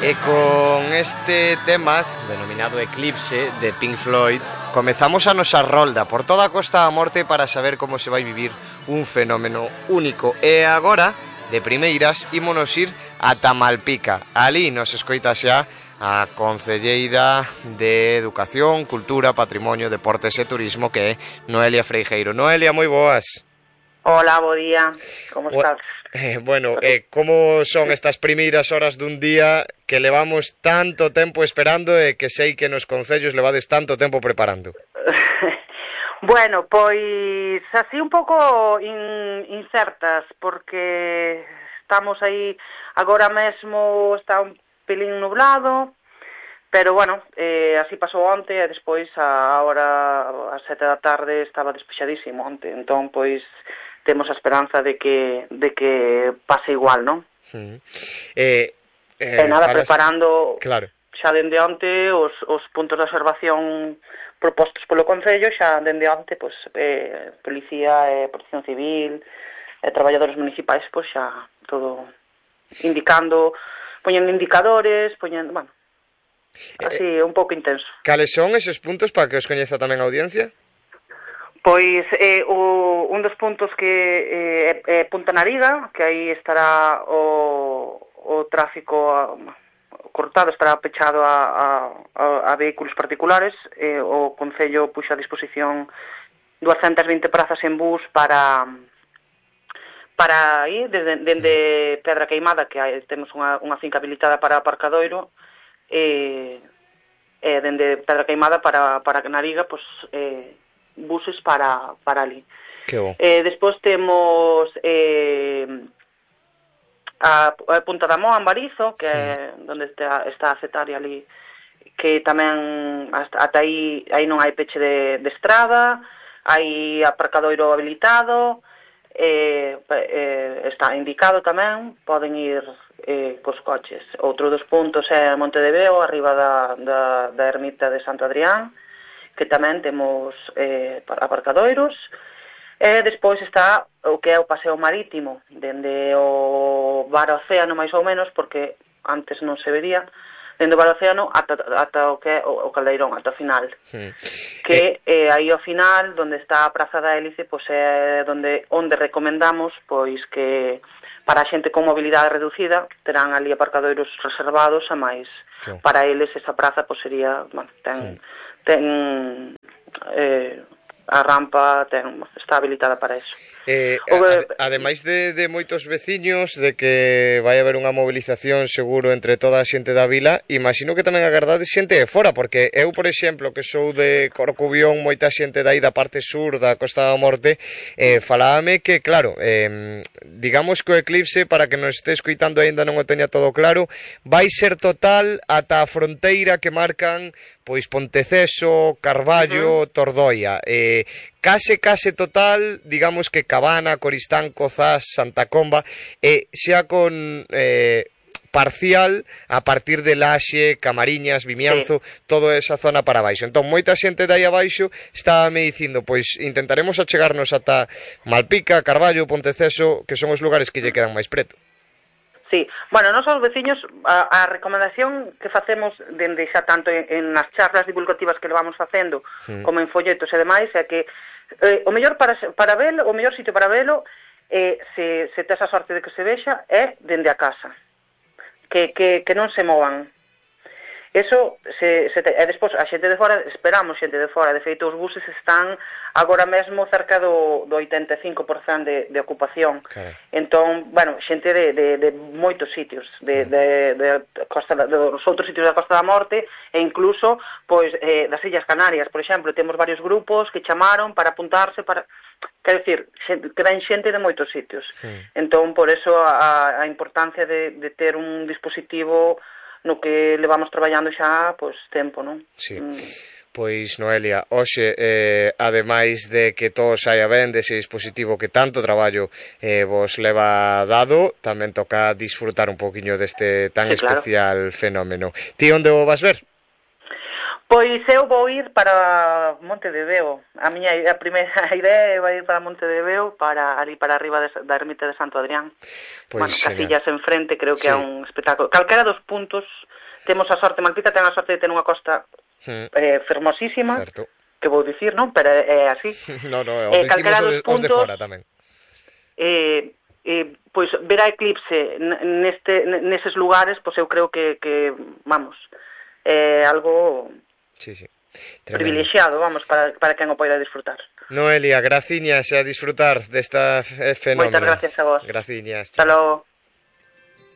E con este tema, denominado Eclipse, de Pink Floyd, comezamos a nosa rolda por toda a Costa da Morte para saber como se vai vivir un fenómeno único. E agora, de primeiras, ímonos ir ata Malpica. Ali nos escoita xa a concelleira de Educación, Cultura, Patrimonio, Deportes e Turismo, que é Noelia Freijeiro. Noelia, moi boas. Hola, bo día. Como estás? Bueno, como son estas primeiras horas dun día que levamos tanto tempo esperando e que sei que nos concellos levades tanto tempo preparando? Bueno, pois así un pouco incertas, porque estamos aí, agora mesmo está un pelín nublado, pero bueno, así pasou onte e despois a hora, ás 7 da tarde, estaba despexadísimo onte, entón pois temos a esperanza de que pase igual, non? Nada, preparando claro. Xa dende onte os puntos de observación propostos polo Concello, xa dende onte, pois, policía, protección civil, traballadores municipais, pois xa todo indicando, poñendo indicadores, poñendo, bueno, así un pouco intenso. Cales son eses puntos para que os coñeza tamén a audiencia? Pois un dos puntos que é Punta Nariga, que aí estará o tráfico cortado, estará pechado a vehículos particulares. O Concello puxa a disposición 220 prazas en bus para aí, dende Pedra Queimada, que temos unha finca habilitada para aparcadoiro, dende Pedra Queimada para Nariga, pois buses para ali. Que bo. Despois temos a Punta da Moa, en Barizo, que é onde está a Cetaria ali, que tamén ata aí non hai peche de estrada, hai aparcadoiro habilitado, está indicado tamén, poden ir cos coches. Outro dos puntos é Monte de Veo, arriba da ermita de Santo Adrián, que tamén temos aparcadoiros. Despois está o que é o paseo marítimo, dende o Bar Océano, máis ou menos, porque antes non se vería, dende o Bar Océano ata o que é o Caldeirón, ata o final. Que aí ao final, onde está a Praza da Hélice, pois é onde recomendamos pois que para a xente con mobilidade reducida terán ali aparcadoiros reservados, a máis para eles esa praza pois sería, bueno, ten a rampa está habilitada para eso. Ademais de moitos veciños, de que vai haber unha movilización seguro entre toda a xente da vila, imagino que tamén agardades xente de fora, porque eu, por exemplo, que sou de Corcubión, moita xente dai da parte sur da Costa da Morte, falábame que, claro, digamos que o eclipse, para que nos este escoitando aínda non o teña todo claro, vai ser total ata a fronteira que marcan pois Ponteceso, Carballo, Tordoia. Case total, digamos que Cabana, Coristanco, Zas, Santa Comba, xa con parcial a partir de Laxe, Camariñas, Vimianzo, toda esa zona para baixo. Entón, moita xente de aí abaixo estaba me dicindo, pois intentaremos achegarnos ata Malpica, Carballo, Ponteceso, que son os lugares que lle quedan máis preto. Sí, bueno, nós os veciños, a recomendación que facemos dende xa tanto en as charlas divulgativas que levamos facendo, como en folletos e demais, é que o mellor para velo, o mellor sitio para velo, se tes a sorte de que se vexa, é dende a casa. Que non se movan. Eso, e despois a xente de fora, esperamos xente de fora, de feito os buses están agora mesmo cerca do 85% de ocupación. Entón, bueno, xente de moitos sitios, dos outros sitios da Costa da Morte, e incluso, pois, das Illas Canarias, por exemplo, temos varios grupos que chamaron para apuntarse, quer dicir, que ven xente de moitos sitios. Entón, por eso, a importancia de ter un dispositivo no que levamos traballando xa, pois, tempo, non? Sí. Pois, Noelia, hoxe, ademais de que todo saia ben dese dispositivo que tanto traballo vos leva dado, tamén toca disfrutar un poquinho deste tan especial fenómeno. Ti onde o vas ver? Pois eu vou ir para Monte de Veo. A primeira idea vai ir para Monte de Veo, para ali para arriba da ermita de Santo Adrián. Pois, Casillas enfrente, creo que é un espectáculo. Calquera dos puntos, temos a sorte, Malpica ten a sorte de ter unha costa fermosísima, certo. Que vou dicir, non? Pero é así. No, calquera dos puntos, os de fora tamén. Pois ver a eclipse neses lugares, pois eu creo que vamos, é algo privilexiado, vamos, para quen o poida disfrutar. Noelia, graciñas a disfrutar desta fenómeno. Moitas gracias a vos. Graciñas. Hasta logo.